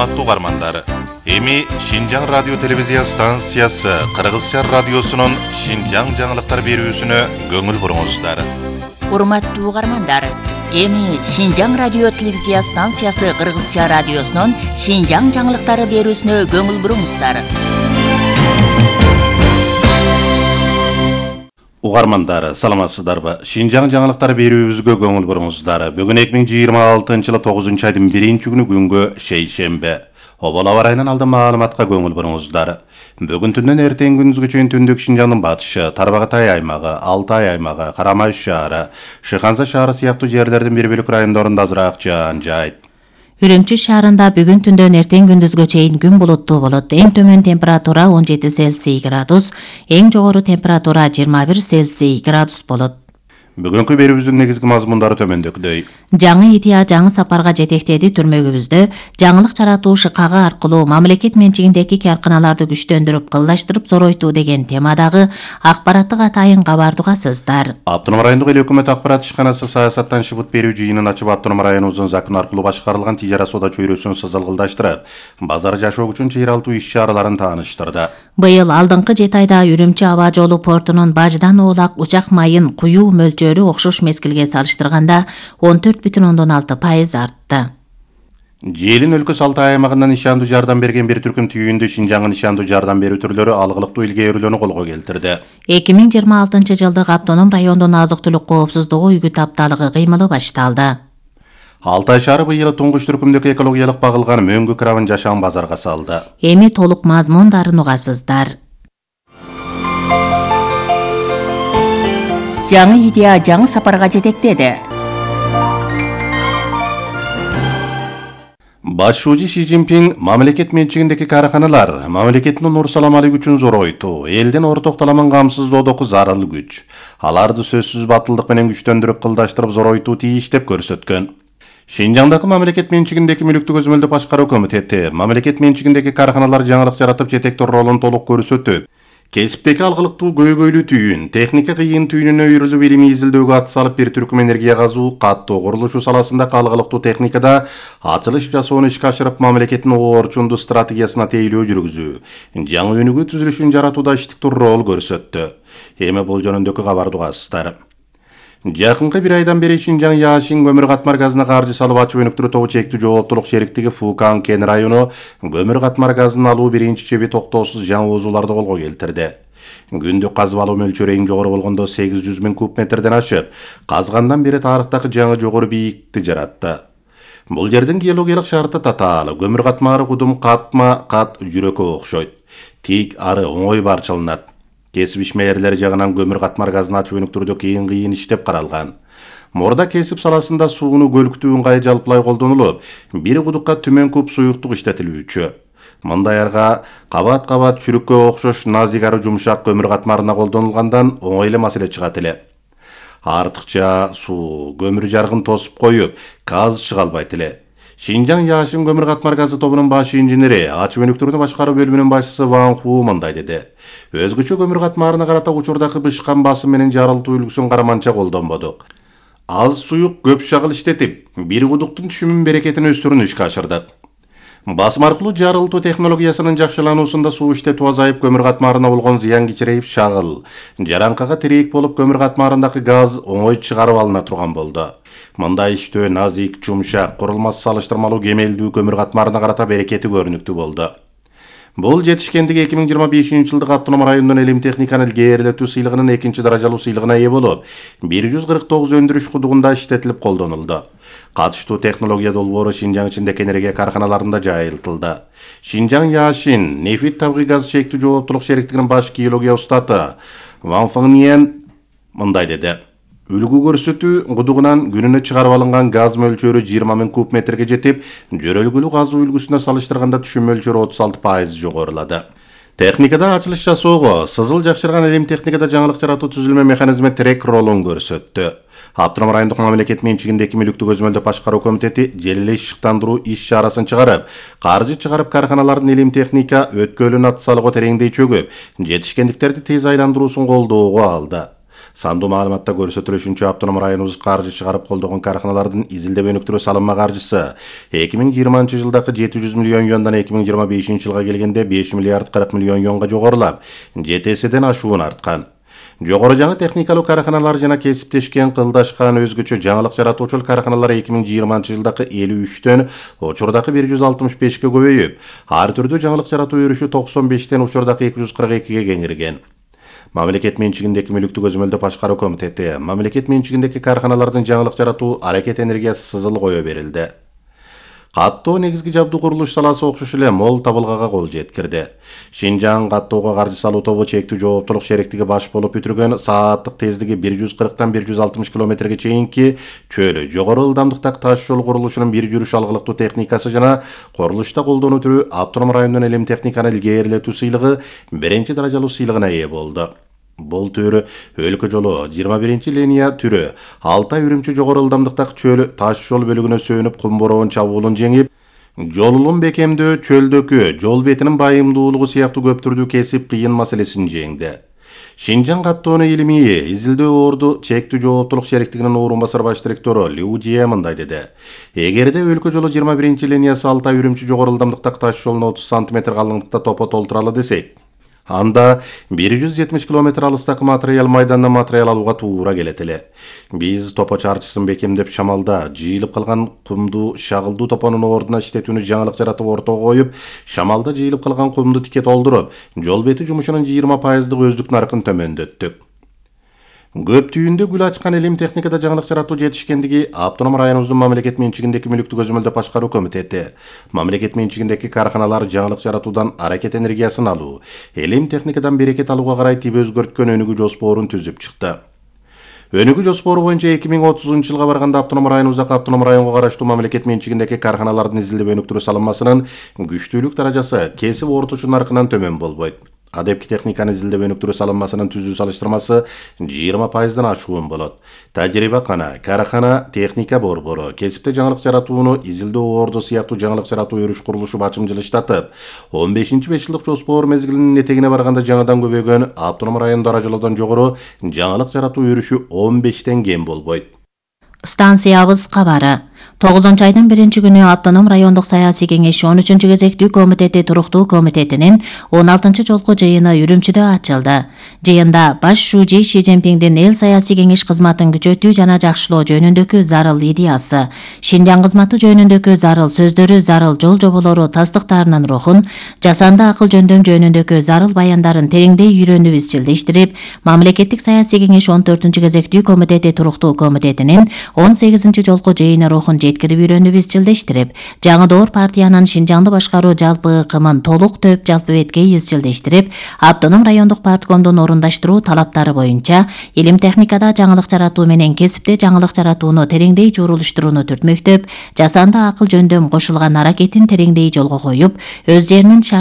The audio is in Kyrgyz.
Урматтуу угармандар, эми Шинжаң радио телевизия станциясы Кыргызча радиосунун Шинжаң жаңылыктар берүүсүнө көңүл буруңуздар. Урматтуу угармандар, эми Шинжаң радио телевизия станциясы Кыргызча радиосунун Шинжаң жаңылыктары берүүсүнө көңүл буруңуздар. Угармандар, саламатсыздарбы? Шинжаң жаңылыктар берүүбүзгө көңүл буруңуздар. Бүгүн 2026-жылы 9-айдын 1-күнү күнгө шейшембе. Обол аба ырайынан алдын маалыматка көңүл буруңуздар. Бүгүн түндөн эртең күндүзгө чейин түндүк Шинжаңдын батышы, Тарбагатай аймагы, Алтай аймагы, Карамай шаары, Шыханза шаары сыяктуу жерлердин бир бөлүк райондорунда азыраак жаан жайт. Үрүмчү шаарында бүгүн түндөн эртең күндүзгө чейин күн булуттуу болот. Эң төмөн температура 17 Цельсий градус, эң жогору температура 21 Цельсий градус болот. Бүгүнкү берүүбүздүн негизги мазмундары төмөндөгүдөй. Жаңы идея жаңы сапарга жетектеди түрмөгүбүздө жаңылык жаратуу ШКГ аркылуу мамлекет менчигиндеги каарканаларды күчтөндүрүп, кылдаштырып зоройтуу деген темадагы акпараттык атайын кабарды угасыздар. Автоном райондук эл өкмөт акпарат ишканасы саясаттан шыбыт берүү жыйынын ачып автоном районубуздун закон аркылуу башкарылган тижара соода чөйрөсүн сызылгылдаштырып, базар жашоо үчүн чыйыр алуу иш-чараларын тааныштырды. Быйыл алдыңкы 7 айда Үрүмчү аба жолу портунун баждан оолак учак майын куюу мөлчөрү окшош мезгилге салыштырганда 14,6% артты. Желин өлкөсү Алтай аймагынан ишандуу жардам берген бир түркүм түйүндө Шинжаңдын ишандуу жардам берүү түрлөрү алгылыктуу илгээрүүлөрүнү колго келтирди. 2026-жылдык автоном райондун азык-түлүк коопсуздугу үгүт апталыгы кыймылы башталды. Алтай шаары быйыл туңгуч түркүмдөгү экологиялык багылган мөңгү крабын жашан базарга салды. Эми толук мазмундарын угасыздар. Жаңы идея жаңы сапарга жетектеди. Башчы Си Цзиньпин мамлекет менчигиндеги каарканалар мамлекеттин нур-саламалык үчүн зоройтуу, элдин ортоктоламын камсыздоодогу зарыл күч. Аларды сөзсүз батылдык менен күчтөндүрүп, кылдаштырып зоройтуу тийиш деп көрсөткөн. Шинжаңдагы мамлекет менчигиндеги мүлүктү көзөмөлдөө башкаруу комитети мамлекет менчигиндеги каарканалар жаңылык жаратып жетектөө ролун толук көрсөтүп, кесиптеги алгылыктуу көйгөйлүү түйүн, техника кыйын түйүнүнө үйрүлүп илимий изилдөөгө ат салып бир түркүм энергия казуу, каттоо курулушу саласындагы алгылыктуу техникада ачылыш жасоону ишке ашырып, мамлекеттин орчундуу стратегиясына тейлөө жүргүзүү, жаңы өнүгүү түзүлүшүн жаратууда иштиктүү рол көрсөттү. Эми бул жөнүндөгү кабарды угасыздар. Жакынкы бир айдан бери Шинжаң Яшин көмүр катмар газына каржы салып ачып өнүктүрүү тобу чектүү жооптулук шериктиги Фукан кен району көмүр катмар газын алуу биринчи чеби токтоосуз жаңы озууларды колго келтирди. Күндүк казып алуу мөлчөрү эң жогору болгондо 800 000 куб метрден ашып, казгандан бери тарыхтагы жаңы жогору бийиктикти жаратты. Бул жердин геологиялык шарты татаал, көмүр катмары кудум катма кат жүрөккө окшойт. Тик ары оңой барчыланат. Кесип ишмерлери жагынан көмүр катмар газын ачып өнүктүрүүдө кыйын иштеп каралган. Морда кесип саласында сууну көлүктүү ыңгай жалпылай колдонулуп, бир кудукка түмөн куб суюктук иштетилүүчү. Мындай арга кабат-кабат чүрүккө окшош назик ары жумшак көмүр катмарына колдонулгандан оңой эле маселе чыгат эле. Артыкча суу көмүр жаргын тосуп коюп, газ чыга албайт эле. Шинжаң Яшин көмүр катмар газы тобунун баш инженери, ачып өнүктүрүүнү башкаруу бөлүмүнүн башчысы Ван Ху мындай деди. Өзгөчө көмүр катмарына карата учурдагы бышкан басым менен жарылтуу үлгүсүн караманча колдонбодук. Аз суюк көп шагыл иштетип, бир кудуктун түшүмүн берекетин өстүрүүнү ишке ашырдык. Басым аркылуу жарылтуу технологиясынын жакшылануусунда суу иштетүү азайып, көмүр катмарына болгон зыян кичирейип, шагыл жараңкага тирейик болуп, көмүр катмарындагы газ оңой чыгарып алына турган болду. Мындай иштөө назик, жумшак, курулмасы салыштырмалуу кемелдүү көмүр катмарына карата берекети көрүнүктүү болду. Бул жетишкендиги 2025-жылдык автоном райондун элим техниканы илгээрилетүү сыйлыгынын 2-даражалуу сыйлыгына ээ болуп, 149 өндүрүш кудугунда иштетилип колдонулду. Катыштуу технология долбоору Шинжаң ичиндеги энергия каарканаларында жайылтылды. Шинжаң Яшин нефит табигый газ чектүү жооптулук шериктигинин баш геология устаты Ван Фыңниен мындай деди. Үлгү көрсөтүү кудугунан күнүнө чыгарып алынган газ мөлчөрү 20 000 куб метрге жетип, жөрөлгүлүү газуу үлгүсүнө салыштырганда түшүм мөлчөрү 36% жогорулады. Техникада ачылыш жасоого, сызыл жакшырган элим техникада жаңылык жаратуу түзүлмө механизми трек ролун көрсөттү. Автоном райондук мамлекет менчигиндеги мүлүктү көзөмөлдөө башкаруу комитети жел эле ишыктандыруу иш-чарасын чыгарып, каржы чыгарып каарканалардын элим техника өткөлүн ат салууга тереңдей чөгүп, жетишкендиктерди тез айландыруусун колдоого алды. Сандуу маалыматта көрсөтүлүшүнчө автоном районубуз каржы чыгарып колдогон караханалардын изилдеп өнүктүрүү салынма каржысы 2020 жылдагы 700 миллион юандан 2025 жылга келгенде 5 миллиард 40 миллион юанга жогорулап, 7 эседен ашуун арткан. Жогору жаңы техникалуу караханалар жана кесиптешкен, кылдашкан, өзгөчө жаңылык жаратуучул караханалар 2020 жылдагы 53төн учурдагы 165 көбөйүп, ар түрдүү жаңылык жаратуу өрүшү 95тен учурдагы 242 кеңирген. Мамлекет менчигиндеки мүлүктү көзөмөлдөө башкаруу комитети мамлекет менчигиндеки караханалардын жаңылык жаратуу аракет энергиясы сызыл кое берилди. Каттоо негизги жабдуу курулуш саласы окшош эле мол табылгага кол жеткирди. Шинжаң каттоого каржы салуу тобу чектүү жооптулук шериктиги баш болуп бүтүргөн сааттык тездиги 140-тан 160 километрге чейинки чөлү жогору ылдамдыктагы таш жол курулушунун бир жүрүш алгылыктуу техникасы жана курулушта колдонуу түрү автоном райондон элем техниканы илгээрилетүү сыйлыгы 1 даражалуу сыйлыгына ээ болду. Бул түрү өлкө жолу 21 линия түрү Алтай Үрүмчү жогору ылдамдыктагы чөл таш жол бөлүгүнө сөнүп кумбороон чабуулун жеңип, жолулун бекемдөө, чөлдөгү жол бетинин байымдуулугу сыяктуу көптүрдүү кесип кыйын маселесин жеңди. Шинжаң каттоону илимий изилдөө орду чектүү жооптулук шериктигинин орун басар баш директору Лю Жие мындай деди. Эгерде өлкө жолу 21 линиясы Алтай Үрүмчү жогору ылдамдыктагы таш жолуна 30 см калыңдыкта топо толтуралы десек, анда 170 км алыстагы материал майдандан материал алууга туура келет эле. Биз топо чарчысын бекемдеп шамалда жыйылып калган кумду шагылдуу топонун ордуна иштетүүнү жаңылык жаратып ортого коюп, шамалда жыйылып калган кумду тике толтуруп, жол бети жумушунун 20% өздүк наркын төмөндөттүк. Көптүйүндө гүл ачкан элим техникада жаңылык жаратуу жетишкендиги автоном районубуздун мамлекет менчигиндеки мүлүктү көзөмөлдөө башкаруу комитети мамлекет менчигиндеки караханалар жаңылык жаратуудан аракет энергиясын алуу, элим техникадан берекет алууга карай тип өзгөрткөн өнүгүү жоспорун түзүп чыкты. Өнүгүү жоспору боюнча 2030 жылга барганда автоном районубуздагы автоном районго караштуу мамлекет менчигиндеки караханалардын изилдеп өнүктүрүү салынмасынын күчтүүлүк даражасы кесип орточу наркынан төмөн болбойт. Адепки техниканы изилдеп өнүктүрүү салынмасынын түзүү салыштырмасы 20%дан ашуун болот. Тажрыйбакана, карахана, техника борбору, кесипте жаңылык жаратууну изилдөө орду сыяктуу жаңылык жаратуу өрүш курулушу бачымчыл иштатып, 15-5 жылдык жоспор мезгилинин этегине барганда жаңыдан көбөйгөн автоном район даражалоодон жогору жаңылык жаратуу өрүшү 15тен кем болбойт. Станциябыз кабары. 9-айдын 1-күнү автоном райондук саясий кеңеш 13-кезектүү комитети туруктуу комитетинин 16 жолку жыйыны Үрүмчүдө ачылды. Жыйында баш шужи Ши Цзиньпиңдин эл саясий кеңеш кызматын күчөтүү жана жакшылоо жөнүндөгү зарыл идеясы, Шинжаң кызматы жөнүндөгү зарыл сөздөрү, зарыл жол жоболору тастыктарынын рухун, жасанды акыл жөндөм жөнүндөгү зарыл баяндарын тереңдей үйрөнүп изчилдештирип, мамлекеттик саясий кеңеш 14-кезектүү комитети туруктуу комитетинин 18 жолку жыйыны рухун жеткирип үйрөнүп изчилдештирип, жаңы доор партиянын Шинжаңды башкаруу жалпы ыкымын толук төп жалпы бетке изчилдештирип, автоном райондук парткомдун орундаштыруу талаптары боюнча илим техникада жаңылык жаратуу менен кесипте жаңылык жаратууну тереңдей журулуштурууну түртмөктөп, жасанды акыл жөндөм кошулган аракетин тереңдей жолго коюп, өз жеринин